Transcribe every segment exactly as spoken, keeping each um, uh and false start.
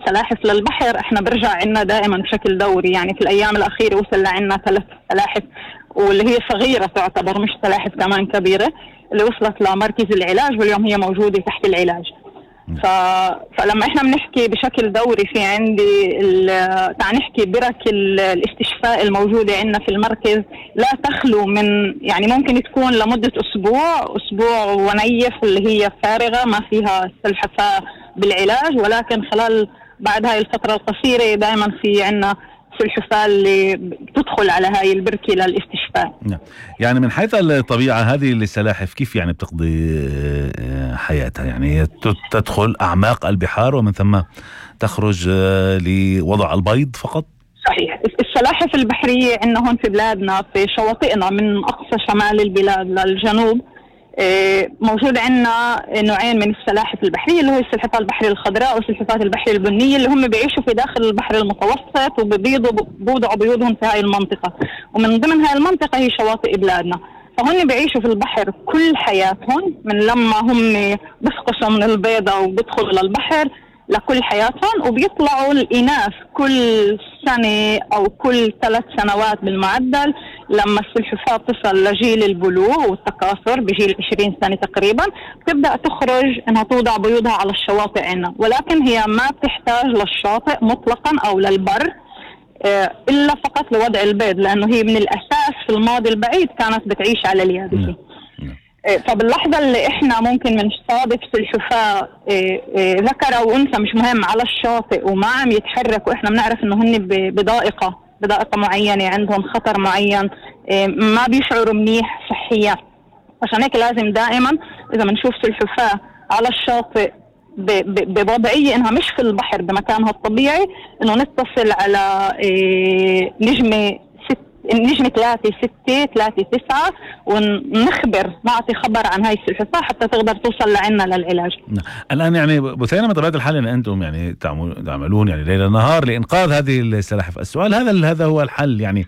سلاحف للبحر احنا برجع عنا دائما بشكل دوري. يعني في الايام الاخيره وصل لعنا ثلاث سلاحف، واللي هي صغيره تعتبر، مش سلاحف كمان كبيره، اللي وصلت لمركز العلاج، واليوم هي موجوده تحت العلاج. ف... فلما احنا بنحكي بشكل دوري في عندي ال... تعال نحكي برك ال... الاستشفاء الموجوده عندنا في المركز لا تخلو من، يعني ممكن تكون لمده اسبوع اسبوع ونيف اللي هي فارغه ما فيها سلحفاه بالعلاج، ولكن خلال بعد هاي الفتره القصيره دائما في عندنا السلحفاة اللي بتدخل على هاي البركة للاستشفاء. نعم. يعني من حيث الطبيعة هذه السلاحف كيف يعني بتقضي حياتها؟ يعني تدخل أعماق البحار ومن ثم تخرج لوضع البيض فقط؟ صحيح. السلاحف البحرية عندنا هون في بلادنا في شواطئنا من أقصى شمال البلاد للجنوب موجود عندنا نوعين من السلاحف البحرية، اللي هو السلحفاة البحرية الخضراء والسلحفاة البحرية البنية، اللي هم بيعيشوا في داخل البحر المتوسط وبيبيضوا بوضعوا بيوضهم في هاي المنطقة، ومن ضمن هاي المنطقة هي شواطئ بلادنا. فهم بيعيشوا في البحر كل حياتهم، من لما هم بيفقسوا من البيضة وبيدخلوا للبحر لكل حياتهم، وبيطلعوا الإناث كل سنة أو كل ثلاث سنوات بالمعدل. لما السلحفاة تصل لجيل البلوغ والتكاثر بجيل عشرين سنة تقريبا بتبدأ تخرج انها توضع بيوضها على الشواطئ عنا، ولكن هي ما بتحتاج للشاطئ مطلقا او للبر الا فقط لوضع البيض، لانه هي من الاساس في الماضي البعيد كانت بتعيش على اليابسة. فباللحظة اللي احنا ممكن بنستضيف سلحفاة ذكر او انثى مش مهم على الشاطئ وما عم يتحرك، واحنا بنعرف انه هن بضائقة بضائقة معينة، عندهم خطر معين، ما بيشعروا منيح صحيا. عشان هيك لازم دائما اذا بنشوف سلحفاة على الشاطئ بوضعية انها مش في البحر بمكانها الطبيعي، انه نتصل على نجمة النجمة ثلاثة ستة ثلاثة تسعة ونخبر نعطي خبر عن هاي السلحفاة حتى تقدر توصل لعنا للعلاج. الآن يعني بثينة بطبيعة الحال أن أنتم يعني تعملون يعني ليل نهار لإنقاذ هذه السلاحف. السؤال هذا هذا هو الحل، يعني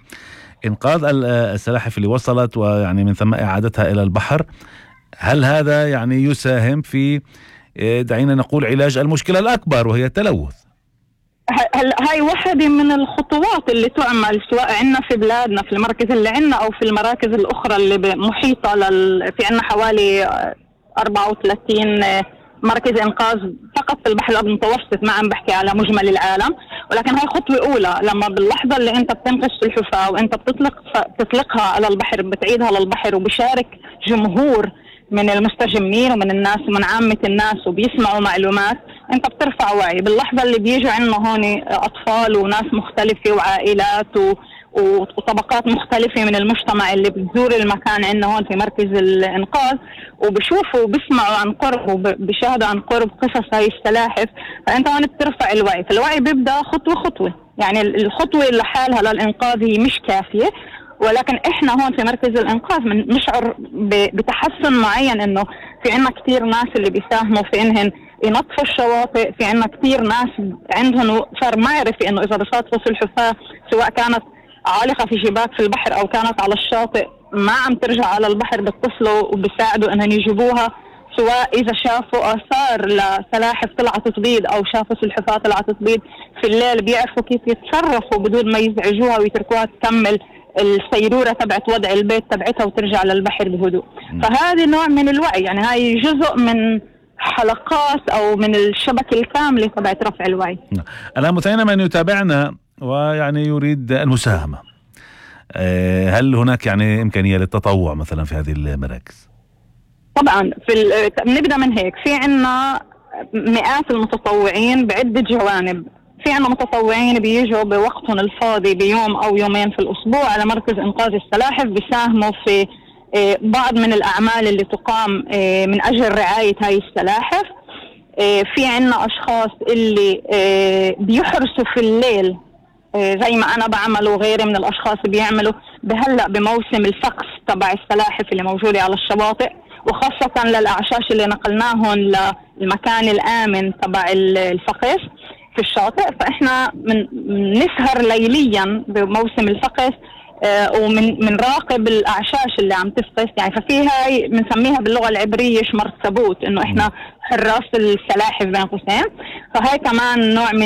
إنقاذ السلاحف اللي وصلت ويعني من ثم إعادتها إلى البحر، هل هذا يعني يساهم في دعينا نقول علاج المشكلة الأكبر وهي التلوث؟ هاي واحدة من الخطوات اللي تعمل سواء عندنا في بلادنا في المركز اللي عندنا أو في المراكز الأخرى اللي محيطة لل... في عندنا حوالي أربعة وثلاثين مركز إنقاذ فقط في البحر الأبيض المتوسط، ما عم بحكي على مجمل العالم، ولكن هاي خطوة أولى. لما باللحظة اللي أنت بتنقذ السلحفاة وأنت بتطلق بتطلقها على البحر بتعيدها للبحر وبشارك جمهور من المستجمين ومن الناس ومن عامة الناس وبيسمعوا معلومات، انت بترفع وعي. باللحظة اللي بيجوا عندنا هون اطفال وناس مختلفة وعائلات و... وطبقات مختلفة من المجتمع اللي بتزور المكان عندنا هون في مركز الانقاذ وبشوفوا وبسمعوا عن قرب وبشاهدوا عن قرب قصص هاي السلاحف، فانت هون بترفع الوعي. فالوعي بيبدأ خطوة خطوة، يعني الخطوة لحالها للانقاذ هي مش كافية، ولكن احنا هون في مركز الانقاذ بنشعر بتحسن معين، انه في عنا كتير ناس اللي بيساهموا في انهن ينظفوا الشواطئ، في عنا كتير ناس عندهم صار معرفة انه اذا بصادفوا سلحفاة سواء كانت عالقة في شباك في البحر او كانت على الشاطئ ما عم ترجع على البحر بيتصلوا وبيساعدوا انهم يجيبوها، سواء اذا شافوا اثار لسلاحف طلعت تبيض او شافوا سلحفاة طلعت تبيض في الليل بيعرفوا كيف يتصرفوا بدون ما يزعجوها ويتركوها تكمل السيرورة تبعت وضع البيت تبعتها وترجع للبحر بهدوء. فهذا نوع من الوعي، يعني هاي جزء من حلقات أو من الشبكة الكاملة تبعت رفع الوعي. الآن مثينا من يتابعنا ويعني يريد المساهمة، هل هناك يعني إمكانية للتطوع مثلا في هذه المراكز؟ طبعا في نبدأ من هيك، في عنا مئات المتطوعين بعدة جوانب. في عنا متطوعين بيجوا بوقتهم الفاضي بيوم أو يومين في الأسبوع على مركز إنقاذ السلاحف بيساهموا في بعض من الأعمال اللي تقام من أجل رعاية هاي السلاحف. في عنا أشخاص اللي بيحرسوا في الليل زي ما أنا بعمل وغيري من الأشخاص بيعملوا بهلأ بموسم الفقس تبع السلاحف اللي موجودة على الشواطئ، وخاصة للأعشاش اللي نقلناهم للمكان الآمن تبع الفقس في الشاطئ. فإحنا من نسهر ليليا بموسم الفقس آه ومن من راقب الأعشاش اللي عم تفقس، يعني ففي هاي بنسميها باللغة العبرية شمرتبوت، إنه إحنا حراس السلاحف بين قوسين. فهاي كمان نوع من